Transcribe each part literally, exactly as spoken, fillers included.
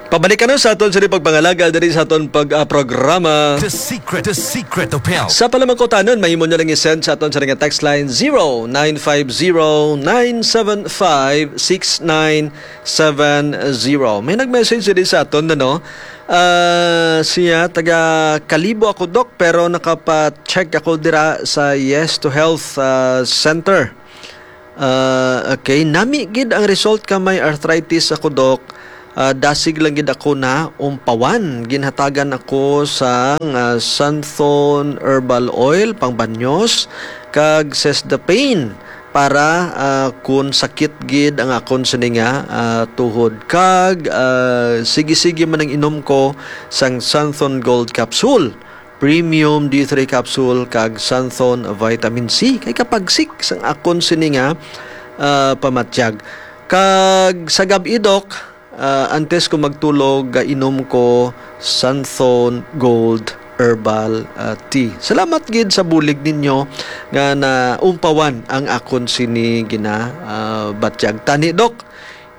Pabalik ka na sa aton sa pagpangalaga diri sa aton pag, ah, programa. The Secret, The Secret of Health. Sa palamangkutanon, mahimo nyo lang i-send sa aton sa nga text line, zero nine five zero nine seven five six nine seven zero. May nag-message diri sa aton, ano? Ah, siya, taga Kalibo ako, Doc, pero nakapa-check ako dira sa Yes to Health, ah, Center. Ah, okay. Nami gid ang result ka may arthritis ako, Doc. Ah, dasig lang gid ako na umpawan. Ginhatagan ako sang, ah, Santhon herbal oil, pangbanyos, kag Sesdapain para, ah, kun sakit gid ang akon sini nga, ah, tuhod. Kag, ah, sige-sige man ang inom ko sang Santhon Gold Capsule, Premium D three Capsule, kag Santhon Vitamin C. Kay kapagsik sang akon sini nga, ah, pamatyag. Kag sa gab-i, Doc, ah, antes ko magtulog, ah, inom ko Santhon Gold Herbal, ah, Tea. Salamat gid sa bulig ninyo nga naumpawan ang akon sini gina, ah, batyag. Tani, Doc,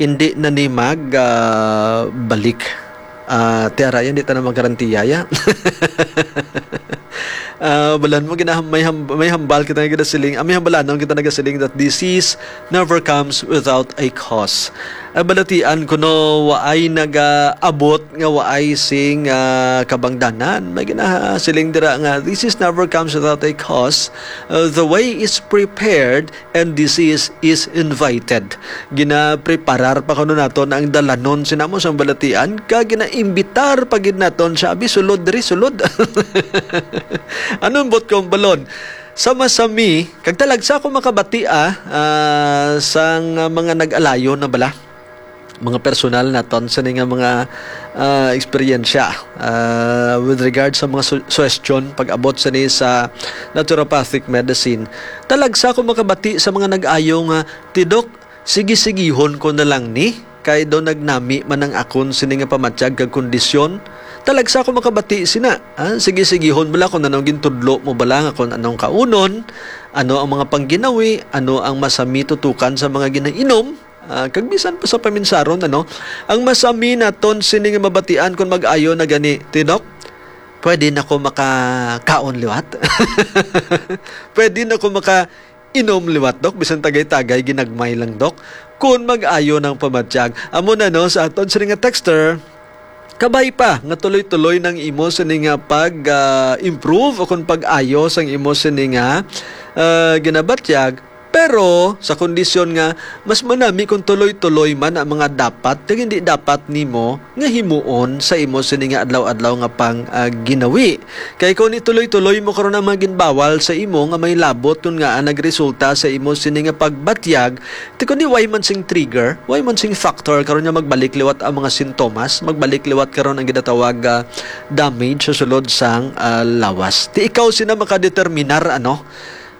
hindi na ni mag, ah, balik. Ah, tiara yan, di ta na magarantiya, ya. Ah, balan mo, gina-, may ham-, may hambal kita nga ginasiling, ah, may hambalanon kita nagasiling that disease never comes without a cause. Ang balatian ko, no, waay nagaabot nga waay sing, ah, kabangdanan. May ginasiling dira nga, "This is never comes without a cause. Uh, the way is prepared and disease is invited." Ginapreparar pa kuno naton ang dalanon sinamo sang balatian, kag ginaimbitar pa gid naton siya, "Abi, sulod diri, sulod." Anong bot kong balon? Sa masami, kag talagsa ko makabati, ah, ah, sang mga nag-alayo na bala, mga personal naton sini nga mga, ah, eksperyensya, ah, with regard sa mga su-, suwestyon pag-abot sini sa naturopathic medicine. Talagsa ko makabati sa mga nag-ayo nga, "Ti Doc, sige-sigihon ko na lang ni, kay daw nagnami man ang akon sini nga pamatyag kag kondisyon." Talagsa ko makabati sina, ah, sige-sigihon bala kung anong gintudlo mo bala nga kung anong kaunon, ano ang mga pangginawi, ano ang masami tutukan sa mga ginainom, ah, kag bisan pa sa paminsaron, ano, ang masami naton sini nga mabatian kung mag-ayo na gani, "Ti Doc, pwede na ko makakaon liwat? Pwede na ko makainom liwat, Doc, bisan tagay-tagay, ginagmay lang, Doc?" Kung mag-ayo ng pamatyag. Amo na, no, sa aton sini nga texter, kabay pa nga tuloy-tuloy nang imo sini nga pag, ah, improve o kung pag-ayo sang imo sini nga, ah, ginabatyag. Pero sa kondisyon nga mas manami kung tuloy-tuloy man ang mga dapat kag hindi dapat nimo nga himuon sa imo sini nga adlaw-adlaw nga pang, ah, ginawi. Kay kung ituloy-tuloy mo karon ang mga ginbawal sa imo nga may labot, kun nga nagresulta sa imo sini nga pagbatyag, ti kundi way man sing trigger, way man sing factor karon nga magbalik liwat ang mga sintomas, magbalik liwat karon ang ginatawag, ah, damage sa sulod sang, ah, lawas. Ti ikaw sina makadeterminar, ano?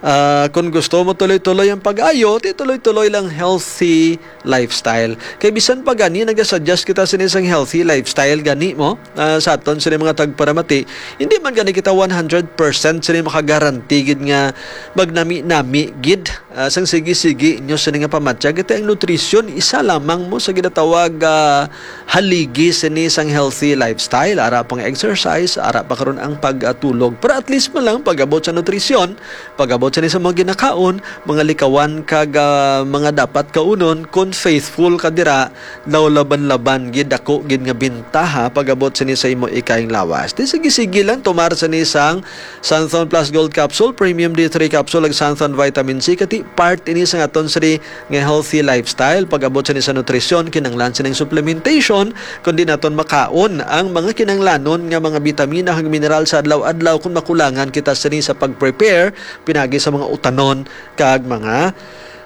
Ah, kung gusto mo tuloy-tuloy ang pag-ayo, ti tuloy-tuloy lang healthy lifestyle. Kay bisan pa gani, nagasuggest kita sini sang healthy lifestyle gani mo, ah, sa aton sini mga tagparamati, hindi man gani kita one hundred percent sini makagaranti gid nga magnami-nami gid, ah, sang sige-sige inyo sini nga pamatyag. Ito ang nutrisyon, isa lamang mo sa ginatawag, ah, haligi sini sang healthy lifestyle. Ara pang exercise, ara pa karon ang pagtulog. Pero at least man lang pag-abot sa nutrisyon, pag-abot sini sa mga ginakaon, mga likawan kag, ah, mga dapat kaunon, kon faithful ka dira, daw laban-laban gid, dako gid nga bintaha pag-abot sini sa imo ikaing lawas. Di sige-sige lang tumar sini sang Xanthone Plus Gold Capsule, Premium D three Capsule, ug Xanthone Vitamin C, kay ti part ini sa aton sini nga healthy lifestyle. Pag-abot sini sa nutrisyon, kinahanglan sining supplementation, kundi naton makaon ang mga kinahanglanon nga mga bitamina kag mineral sa adlaw-adlaw kung makulangan kita sini sa pag-prepare pinagi sa mga utanon kag mga,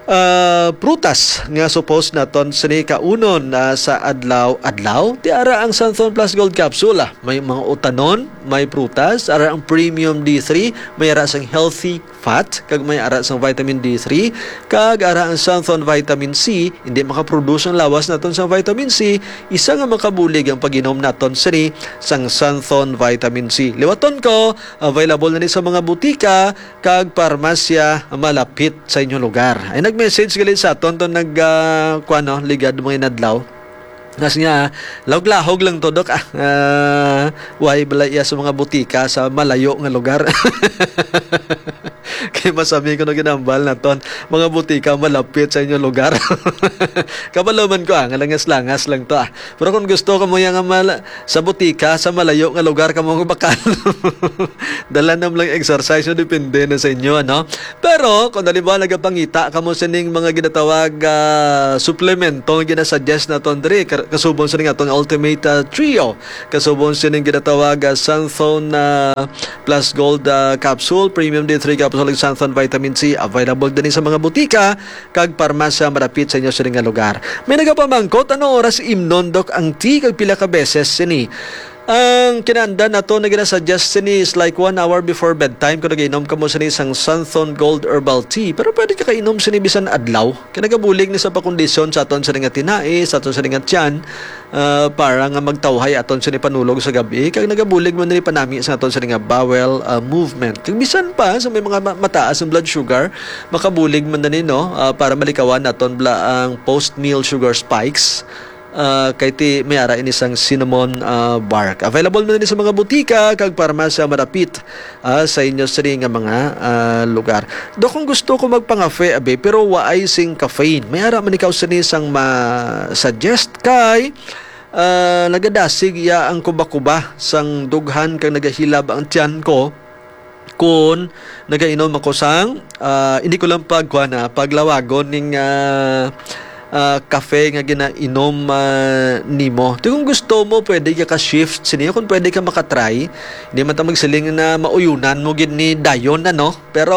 ah, prutas nga supposed naton sini kaunon, ah, sa adlaw-adlaw. Ti ara ang Xanthone Plus Gold Capsule, ah. May mga utanon, may prutas, ara ang Premium D three, may ara sang healthy fat, kag may ara sang vitamin D three, kag ara ang Xanthone Vitamin C. Hindi makaproduce ang lawas naton sang vitamin C, isa nga makabulig ang pag-inom naton sini sang Xanthone Vitamin C. Liwaton ko, available na ni sa mga butika kag parmasya malapit sa inyo lugar. Ay nag-message gali sa aton to nag, ah, kuwan, no, ligad mga inadlaw. Nas niya, lahog-lahog lang to, Dok, ah. Ah, why bala iya sa mga butika sa malayo nga lugar? Kay masami ko na ginambal naton. Mga butika malapit sa inyong lugar. Kabalo man ko, ah, nga langas-langas lang to, ah. Pero kung gusto ka mo yang mal-, sa butika, sa malayo nga lugar ka mo bakal. Dala nam lang exercise, no? Depende na sa inyo, ano? Pero kung halimbawa nagapangita kamo sining mga ginatawag, ah, suplemento nga ginasuggest naton diri, ka-, kasubong sining aton Ultimate, ah, Trio, kasubong sining ginatawag, ah, Xanthone, ah, Plus Gold, ah, Capsule, Premium D three Capsule, ug Xanthone Vitamin C, available din sa mga butika kag parmasya malapit sa inyo sining nga lugar. May nagapamangkot, ano oras imnon, Dok, ang tea kag pila ka beses sini? Ang kinaandan nato nga ginasuggest sini is like one hour before bedtime kung nag-inom kamo sini sang Xanthone Gold Herbal Tea. Pero pwede ka kainom sini bisan adlaw. Kay nagabulig ni sa pakondisyon sa aton sini nga tinai, sa aton sini nga tiyan, ah, para nga magtawhay aton sini panulog sa gabi. Kag nagabulig man ni panami sa aton sini nga bowel, ah, movement. Kag bisan pa sa may mga ma-, mataas ang blood sugar, makabulig man ni, no, ah, para malikawan naton bala ang post-meal sugar spikes. Ah, kay ti may ara ini sang cinnamon, ah, bark. Available man ini sa mga butika kag parmasya malapit, ah, sa inyo sini nga mga, ah, lugar. Do, kung gusto ko magpangafe, abi, pero waay sing caffeine. May ara man ikaw sini sang ma-suggest kay, ah, nagadasig iya ang kuba-kuba sang dughan kag nagahilab ang tiyan ko. Kun nagainom ako sang, ah, hindi ko lang pagkuan, ah, paglawagon ning, ah, ah, kafe nga ginainom, ah, nimo. Di, kung gusto mo, pwede ka ka-shift sini. Kung pwede ka makatry, hindi man ta magsiling na mauyunan mo gid ni dayon, ano? Pero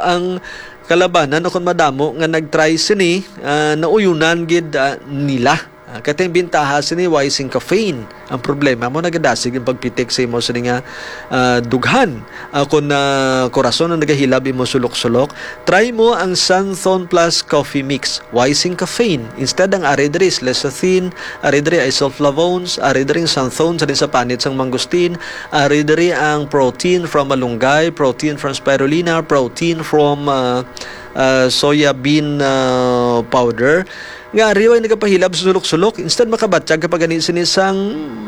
ang kalabanan, o kung madamo nga nag-try sini, ah, nauyunan gid, ah, nila. Ah, kay ti ang bintaha sini, way sing caffeine. Ang problema mo, nagadasig ang pagpitik sa imo sini nga, ah, dughan. Ah, kung, ah, korason ang nagahilab imo sulok-sulok, try mo ang Xanthone Plus Coffee Mix. Way sing caffeine. Instead, ang ari diri is lecithin, ari diri ay sulflavones, ari diri ang xanthone sa, sa panit sang mangosteen, ari diri ang protein from malunggay, protein from spirulina, protein from, ah, ah, soya bean, ah, powder. Nga ari way nagapahilab sa sulok-sulok, instead makabatyag ka pa gani sini sang,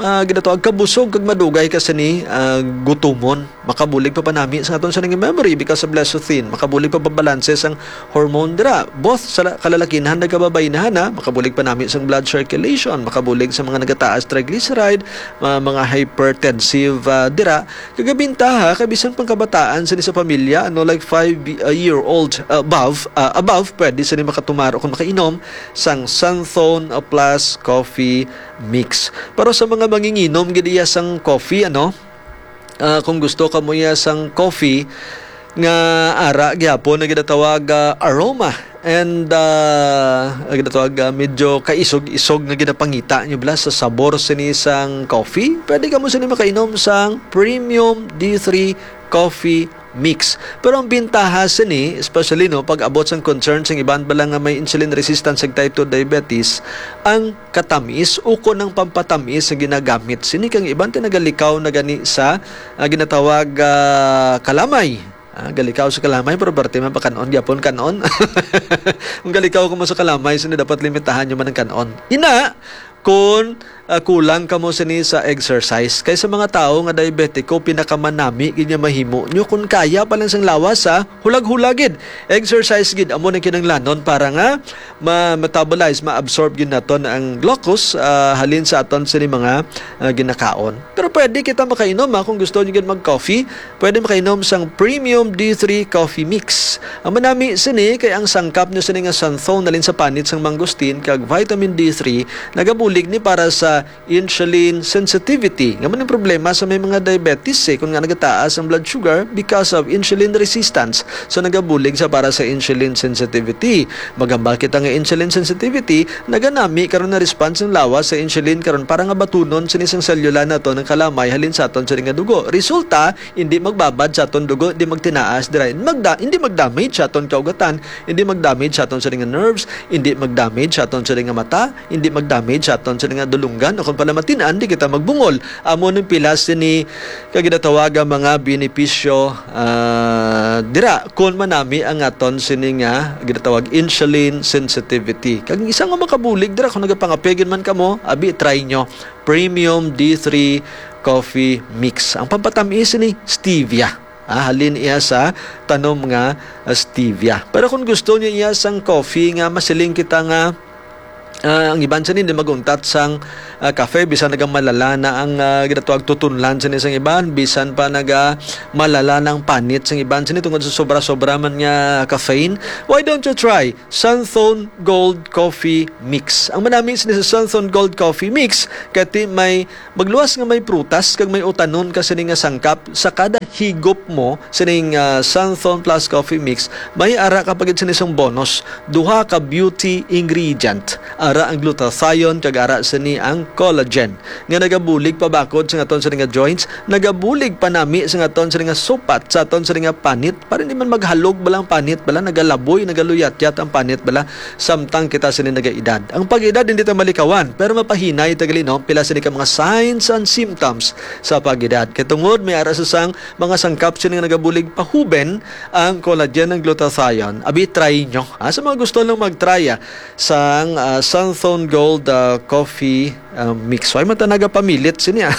ah, ginatawag kabusog kag madugay ka sini, ah, gutumon. Makabulig pa panami sa aton sini nga memory because of lecithin. Makabulig pa pabalanse sang hormone dira. Both sa la-, kalalakinhan, nagkababaynhan, ha. Makabulig panami sang blood circulation. Makabulig sa mga nagataas triglyceride, ma-, mga hypertensive, ah, dira. Kagabintaha, kay bisan pang kabataan sini sa pamilya, ano, like five, uh, year old above, uh, above, pwede sini makatumar o kung makainom sang Xanthone, uh, Plus Coffee Mix. Pero sa mga manginginom gid iya sang coffee, ano, uh, kung gusto ka mo iya sang coffee nga ara gyapon na ginatawag, uh, aroma, and, ah, ang ginatawag, ah, medyo kaisog-isog nga ginapangita nyo bala sa sabor sini sang coffee, pwede kamo sini makainom sang Premium D three Coffee Mix. Pero ang bintaha sini, especially, no, pag abot sang concern sang iban bala nga may insulin resistance ug type two diabetes, ang katamis ukon ang pampatamis nga ginagamit sini, kang iban ti nagalikaw na gani sa, ah, ginatawag, ah, kalamay. Ah, galikaw sa kalamay, pero parte man pa kan-on gyapon, kan-on. Kung galikaw kamo sa kalamay, sini dapat limitahan nyo man ang kan-on. Ina, kung, ah, kulang kamo sini sa exercise, kay sa mga tawo nga diabetiko, pinakamanami gid nga mahimo nyo. Kung kaya pa lang sang lawas, ha, hulag-hulag gid. Exercise gid, amo nang kinahanglanon para nga ma-metabolize, ma-absorb gid naton ang glucose, ah, halin sa aton sini mga, ah, ginakaon. Pero pwede kita makainom, ha, kung gusto nyo gid mag-coffee. Pwede makainom sang Premium D three Coffee Mix. Ang manami sini kay ang sangkap niya sini nga xanthone nalin sa panit sang mangosteen kag vitamin D three nagabulig ni para sa insulin sensitivity. Nga man ang problema sa may mga diabetes, eh, kung nga nagataas ang blood sugar because of insulin resistance. So nagabulig sa para sa insulin sensitivity. Magambal kita nga insulin sensitivity, naganami karon na response ng lawas sa insulin karon para nga batunon sini sang selula nato ng kalamay halin sa aton sini nga dugo. Resulta, hindi magbabad sa aton dugo, hindi magtinaas dira, hindi magda-, hindi magdamage sa aton kaugatan, hindi magdamage sa aton sini nga nerves, hindi magdamage sa aton sini nga mata, hindi magdamage sa aton sini nga dulungga. Kan, o kon pala matin-an, di kita magbungol. Amo ning pila sini ka ginatawag nga mga benepisyo, ah, dira kon manami ang aton sini nga ginatawag insulin sensitivity. Kag isa nga makabulig dira, kung nagapangape gid man kamo, abi, try nyo. Premium D three Coffee Mix. Ang pampatamis sini, stevia. Ah, halin iya sa tanom nga, ah, stevia. Pero kung gusto niyo iya sang coffee nga masiling kita nga, ah, ang iban sini di mag-untat sang, ah, kafe, bisan nagamalala na ang, ah, ginatawag tutunlan sini sang iban, bisan pa nagamalala na ang panit sang iban sini tungod sa sobra-sobra man nga caffeine. Why don't you try Santhon Gold Coffee Mix? Ang manami sini sa Santhon Gold Coffee Mix, kati may magluwas nga may prutas kag may utanon ka sini nga sangkap sa kada higop mo sining, ah, Santhon Plus Coffee Mix, may ara ka pa gid sini sang bonus, duha ka beauty ingredient. Ara ang glutathione kag ara sini ang collagen nga nagabulig pa bakod sa aton sini nga joints, nagabulig pa nami sa aton sini nga supat, sa aton sini nga panit, para hindi man maghalog bala ang panit bala, nagalaboy, nagaluyatyat ang panit bala, samtang kita sini nagaedad. Ang pag-edad hindi ta malikawan, pero mapahinay ta gali, no? Pila sini ka mga signs and symptoms sa pag-edad. Kay tungod may ara sa sang mga sangkap sini nga nagabulig pahuben ang collagen, ang glutathione. Abi, try nyo. Ah, sa mga gusto lang mag-try, ah, sang, ah, Santhon Gold, ah, Coffee, ah, Mix. Why man ta nagapamilit sini, ah?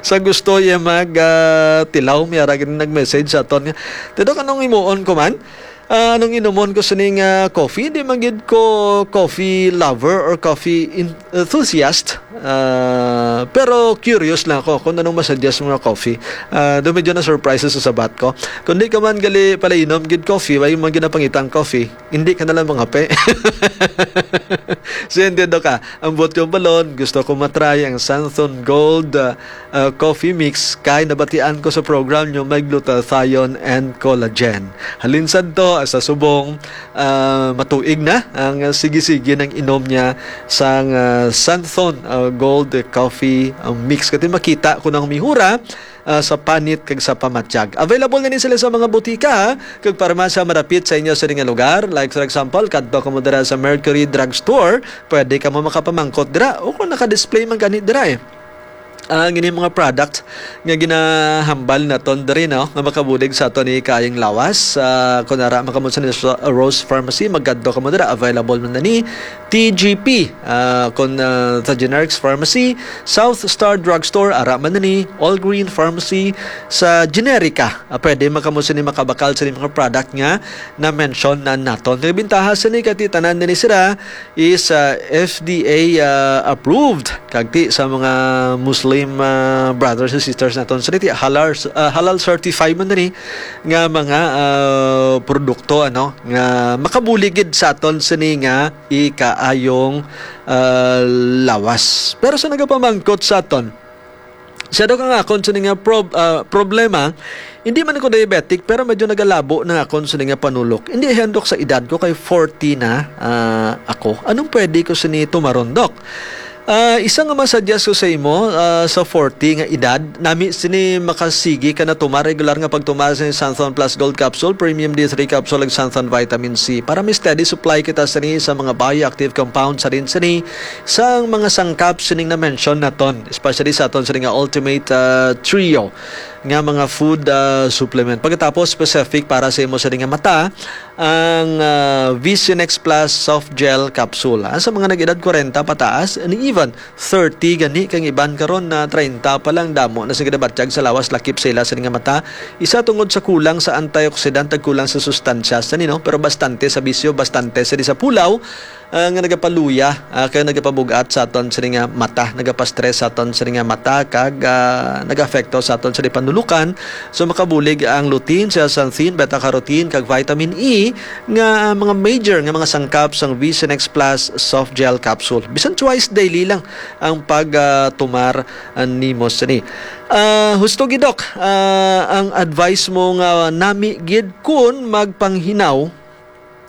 Sa gusto ya mag, ah, tilaw, may ara gid nag-message sa aton nga, "Tidok, anong imuon ko man? Ah, anong inumon ko sining, ah, coffee?" Di man gid ko coffee lover or coffee en-, enthusiast. Ah, pero curious lang ako kung anong masuggest mo nga coffee. Ah, do medyo na-surprise sa sabat ko. Kung di ka man gali pala inom gid coffee, why man ginapangitang coffee? Hindi ka na lang mangape. So, hindi do ka. Ang buot kong balon, gusto ko matry ang Santhon Gold, ah, ah, Coffee Mix kay nabatian ko sa program nyo may glutathione and collagen. Halin sadto, sa subong, ah, matuig na ang sige-sige nang inom niya sang, ah, Santhon, ah, Gold Coffee, ah, Mix. Kati makita ko nang mihura, ah, sa panit kag sa pamatyag. Available na ni sila sa mga butika, ha, kag parmasya madapit sa inyo sa nga lugar. Like, for example, kadto kamo dira sa Mercury Drugstore, pwede kamo makapamangkot dira. O kung naka-display man gani dira, eh. Ang ini mga product nga ginahambal naton diri, no, nga makabulig sa aton ni kayang lawas. Ah, kung ara, makamo sa Rose Pharmacy, magkadto kamo dira. Available man na ni T G P, ah, kung, ah, sa Generics Pharmacy, South Star Drugstore, ara man na ni All Green Pharmacy, sa Generica. Ah, pwede man kamo sini makabakal sa mga product nga na-mention na naton. Ang bintaha sini kay tanan na ni sila is, ah, F D A, ah, approved. Kag ti sa mga Muslim, ah, brothers and sisters naton, sila ti halal, ah, halal certified man ni nga mga, ah, produkto, ano, nga makabulig gid sa aton sini nga ikaayong, ah, lawas. Pero sa nagapamangkot sa aton, siya daw ka nga akon sini nga prob-, ah, problema, hindi man ko diabetic, pero medyo nagalabo na akon sini nga panulok. Hindi handok sa edad ko, kay forty na, ah, ako. Anong pwede ko sini tumaron, Doc? Ah, isa nga masuggest ko sa imo, ah, sa forty nga edad, nami sini makasigi ka na tumar regular nga pagtumar sa Santhon Plus Gold Capsule, Premium D three Capsule, ug Santhon Vitamin C. Para may steady supply kita sini sa mga bioactive compounds sa rin sini, sa mga sangkap sining na-mention naton, especially sa aton sini nga Ultimate, ah, Trio nga mga food, ah, supplement. Pagkatapos, specific para sa imo sini nga mata, ang, ah, Vision X Plus Soft Gel Capsule. Ah, sa mga nag-edad kwarenta pataas, and even thirty gani, kang iban karon na treinta pa lang, damo na sila ginabatyag sa lawas, lakip sa ila sini nga mata. Isa tungod sa kulang sa antioxidant, ag kulang sa sustansya sa nino, pero bastante sa bisyo, bastante sa di sa pulaw, ah, nga nagapaluya, ah, kag nagapabug-at sa aton sini nga mata, nagapastress sa aton sini nga mata, kag, ah, nagaapekto sa aton sini panulukan. So, makabulig ang lutein, zeaxanthin, beta-carotene, kag vitamin E nga, ah, mga major nga mga sangkap sang Vision X Plus Soft Gel Capsule. Bisan twice daily lang ang pag, ah, tumar, ah, nimo sini. Ah, husto gid, Doc, ah, ang advice mo nga nami gid kun magpanghinaw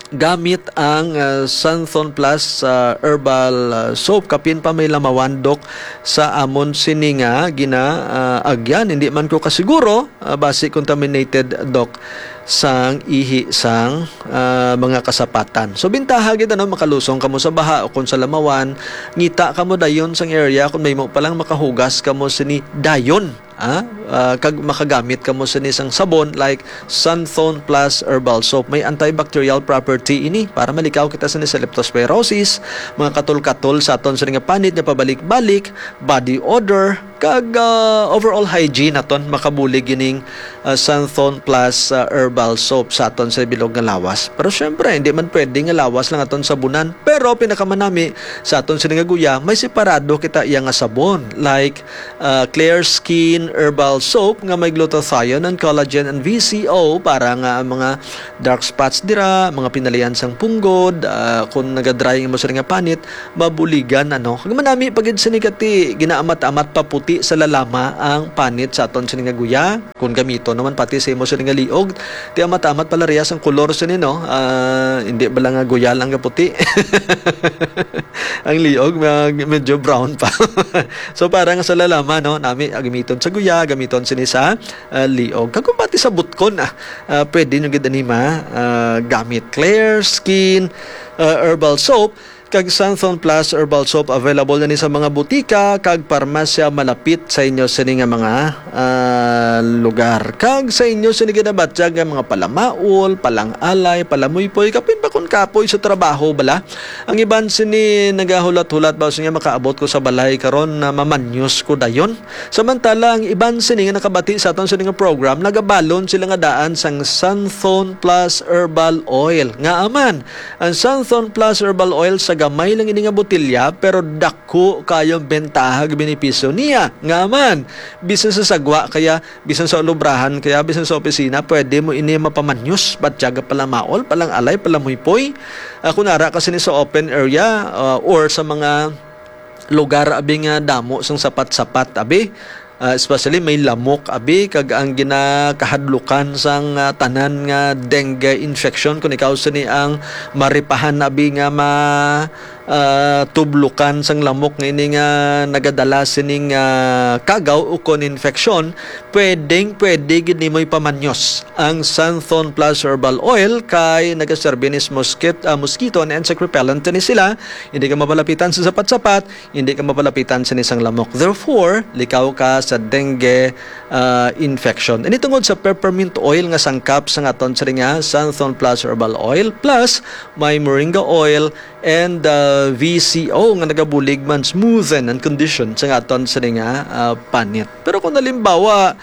gamit ang, ah, Santhon Plus, ah, Herbal, ah, Soap. Kapin pa may lamawandok sa amon sini nga gina, ah, agyan. Hindi man ko kasiguro, ah, basi contaminated, Doc. sang ihi sang, ah, mga kasapatan. So, bintaha gid, ano, makalusong kamo sa baha o kung sa lamawan, ngita kamo dayon sang area, kung may mo pa lang makahugas kamo sini dayon, ah, ah, kag makagamit kamo sini sang sabon like Santhon Plus Herbal Soap. May antibacterial property ini para malikaw kita sini sa leptospirosis, mga katol-katol sa aton sini nga panit nga pabalik-balik, body odor, kag, ah, overall hygiene naton. Makabulig ining, ah, Santhon Plus, ah, Herbal Soap sa aton sa bilog nga lawas. Pero syempre, hindi man pwede nga lawas lang aton sabunan. Pero pinakamanami sa aton sini nga guya, may separado kita iya nga sabon, like, ah, Clear Skin Herbal Soap nga may glutathione and collagen and V C O para nga ang mga dark spots dira, mga pinalian sang punggod, ah, kung naga-dry ang imo sini nga panit, mabuligan, ano. Kag manami pa gid sini kati ginaamat-amat paputi sa lalama ang panit sa aton sini nga guya. Kung gamito naman pati sa imo sini nga liog, ti amat-amat pala riyas ang kolor sini, no? Ah, hindi bala nga guya lang nga puti. Ang liog, mag-, medyo brown pa. So, para nga sa lalama, no? Nami, ah, gamiton sa guya, gamiton sini sa, ah, liog. Kag kung pati sa butkon, ah, ah, pwede nyo gid ani ma, ah, gamit Clear Skin, ah, Herbal Soap. Kag Santhon Plus Herbal Soap available na ni sa mga butika kag parmasya malapit sa inyo sini nga mga, ah, lugar. Kag sa inyo sini ginabatyag nga mga palamaol, palang-alay, palamuypoy, kapin pa kun kapoy sa trabaho bala. Ang iban sini nagahulat-hulat ba nga makaabot ko sa balay karon na mamanyos ko dayon. Samantala, ang iban sini nga nakabati sa aton sini nga program, nagabalon sila nga daan sang Santhon Plus Herbal Oil. Ngaa man, ang Santhon Plus Herbal Oil sa gamay lang ini nga botelya, pero dako kayo ang bentaha ug benepisyo niya. Ngaa man, bisan sa sagwa kaya, bisan sa ulubrahan kaya, bisan sa opisina, pwede mo ini mapamanyos, batyag palamaol, palang-alay, palamuypoy. Ah, kung ara ka sini sa open area, ah, or sa mga lugar abi nga damo sang sapat-sapat abi, ah, especially may lamok abi, kag ang ginakahadlukan sang, ah, tanan nga dengue infection, kung ikaw sini ang maripahan abi nga ma, ah, tublukan sang lamok nga ini nga nagadala sining, ah, kagaw ukon infeksyon, pwedeng pwede gid nimo ipamanyos ang Santhon Plus Herbal Oil kay nagaserbi ni mosquit-, ah, mosquito and insect repellent ni sila. Hindi ka mapalapitan sa sapat-sapat, hindi ka mapalapitan sa nisang lamok. Therefore, likaw ka sa dengue, ah, infection. Ini tungod sa peppermint oil nga sangkap sa aton sini nga Santhon Plus Herbal Oil, plus may moringa oil and, ah, V C O nga nagabulig man smoothen and condition sa aton sini nga, ah, panit. Pero kung halimbawa,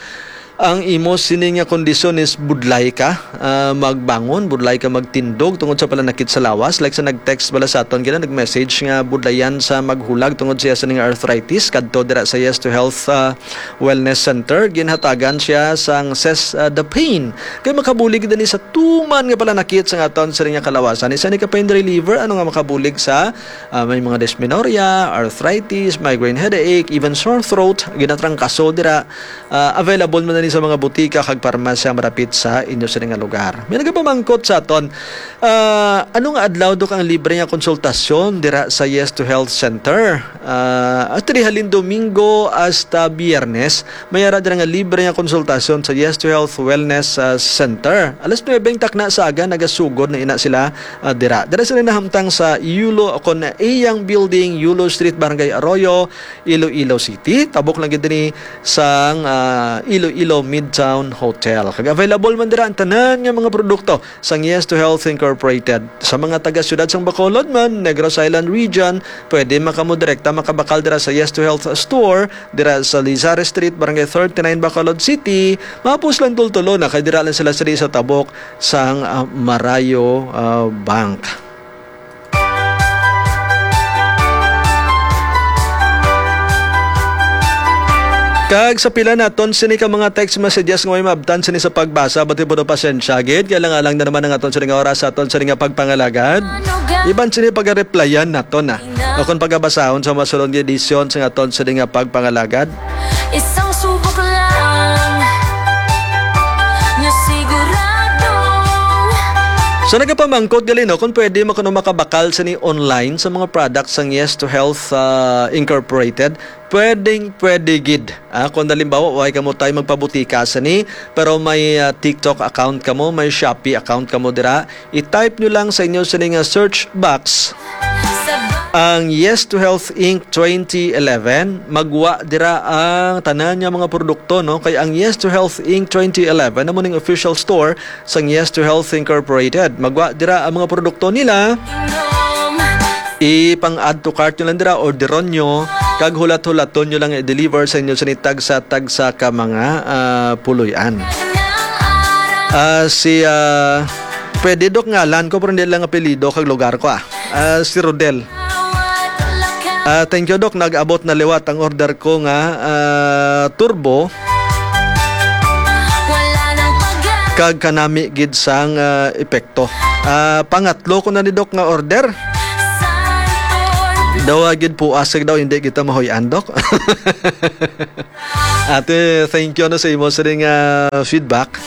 ang imo sini nga kondisyon is budlay ka, ah, magbangon, budlay ka magtindog tungod sa palanakit sa lawas. Like sa nag-text bala sa aton, gina nag-message nga budlayan sa maghulag tungod siya sa ning arthritis, kadto dira sa Yes to Health, ah, Wellness Center. Ginhatagan siya sang ses-, ah, the pain. Kay makabulig dani sa tuman nga palanakit sa aton sini nga kalawasan. Isa ni ka pain reliever, ano nga makabulig sa, ah, may mga dysmenorrhea, arthritis, migraine headache, even sore throat, ginatrangkaso dira. Ah, available man na ni sa mga butika kag parmasya malapit sa inyo sini nga lugar. May nagapamangkot sa aton, ah, ano nga adlaw do kang libre nga konsultasyon dira sa Yes to Health Center? Ah, actually, halin Domingo hasta Biyernes, may ara dira nga libre nga konsultasyon sa Yes to Health Wellness, ah, Center. Alas nuebe ang takna sa aga, nagasugod na ina sila, ah, dira. Dira sila nahamtang sa Yulo, kon Iyang Building, Yulo Street, Barangay Arroyo, Iloilo City. Tabok lang gid ni sang, ah, Iloilo Midtown Hotel. Kag available man dira ang tanan nga mga produkto sang Yes to Health Incorporated. Sa mga taga siyudad sang Bacolod man, Negros Island Region, pwede man kamo direkta makabakal dira sa Yes to Health Store, dira sa Lizar Street, Barangay thirty-nine, Bacolod City. Mahapos lang tultulo na kay dira lang sila sa, sa tabok sang, ah, Marayo, ah, Bank. Kag sa pila naton sini ka mga text messages nga may maabtan sini sa pagbasa, bati po do pasensya gid, kay alang-alang na naman ang aton sini nga oras sa aton sini nga pagpangalagad. Iban sini pagareplyan naton na. O kung pagabasahon sa masulod nga edisyon sa aton sini nga pagpangalagad. Isang subok lang, nga sigurado. So, nagapamangkot gali, no, kung pwede mo kuno makabakal sini online sa mga products sang Yes to Health, ah, Incorporated. Pwedeng pwede gid. Ah, kung halimbawa, way kamo tay magpabutika sini, pero may, ah, TikTok account kamo, may Shopee account kamo dira, i-type nyo lang sa inyo sini nga search box ang Yes to Health Inc twenty eleven. Magwa dira ang tanan nga mga produkto, no? Kay ang Yes to Health Inc twenty eleven amo ning official store sang Yes to Health Incorporated. Magwa dira ang mga produkto nila. Ipang-add to cart nyo lang dira, orderon nyo, kag hulat-hulaton nyo lang i-deliver sa inyo sini tagsa-tagsa ka mga, ah, puloy-an. Ah, si, ah, pwede, Dok, ngalan ko, pero hindi lang apelyido kag lugar ko, ah. Ah, si Rodel. Ah, thank you, Dok. Nag-abot na liwat ang order ko nga, ah, turbo. Kag kanami gid sang, ah, epekto. Ah, pangatlo ko na ni, Dok, nga order. Daw, ah, gid po asig daw, hindi kita mahuy-an, Dok. Ate, thank you, ano, sa imo sa ring, ah, feedback.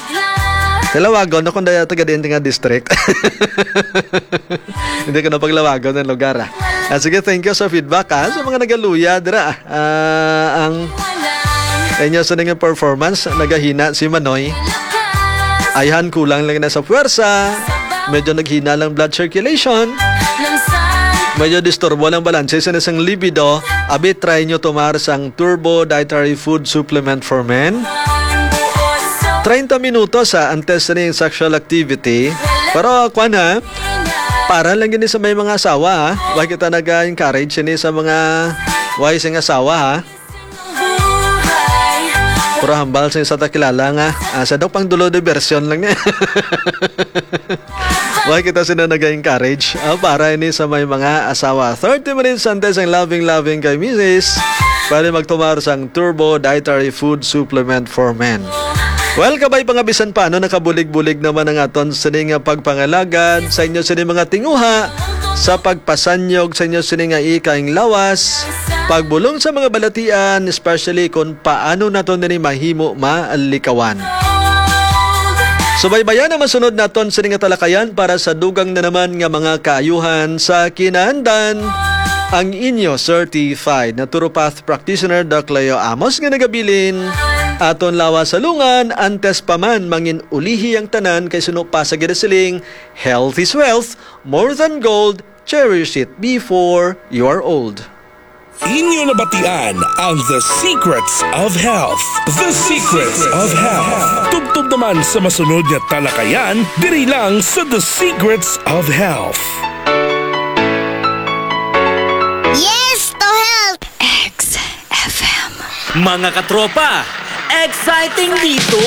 Kalawagon ako na taga diin nga district. Hindi ko na paglawagon ang lugar, ah. Ah, sige, thank you sa feedback, ah. Sa mga nagaluya, dira, ah, ang inyo sa nga performance, nagahina si Manoy. Ayhan, kulang lang na sa puwersa. Medyo naghina lang blood circulation. Medyo disturbo lang balanse sa isang libido. Abi, try nyo tomar sang Turbo Dietary Food Supplement for Men. Treinta minutos, ah, antes sa ning sexual activity. Pero, kwan, ha, para lang gini sa may mga asawa, ha. Wa kita nag-encourage sini sa mga wais nga asawa, ha. Pero hambal sa isa ta kilala nga, ah, sa daw pang dulo de version lang niya. Why kita sila nag-encourage? Ah, para ini sa may mga asawa. Thirty minutes antes ang loving-loving kay misis. Pwede magtumar sang Turbo Dietary Food Supplement for Men. Well, kabay pa nga bisan paano nakabulig-bulig naman ang aton sini nga pagpangalagad sa inyo sini mga tinguha sa pagpasanyog sa inyo sini nga ikaing lawas, pagbulong sa mga balatian, especially kung paano naton ini mahimo malikawan. Subaybayan ang masunod naton sini nga talakayan para sa dugang na naman nga mga kaayuhan sa kinaandan. Ang inyo certified naturopath practitioner, Doc Leo Amos, nga nagabilin, aton lawas sa lungan, antes pa man mangin ulihi ang tanan, kay suno pa sa ginasiling, "Health is wealth, more than gold, cherish it before you are old." Inyo nabatian ang The Secrets of Health. The Secrets of Health. Tubtob naman sa masunod nga talakayan, diri lang sa The Secrets of Health. Yes to health! X F M. Mga katropa, exciting dito!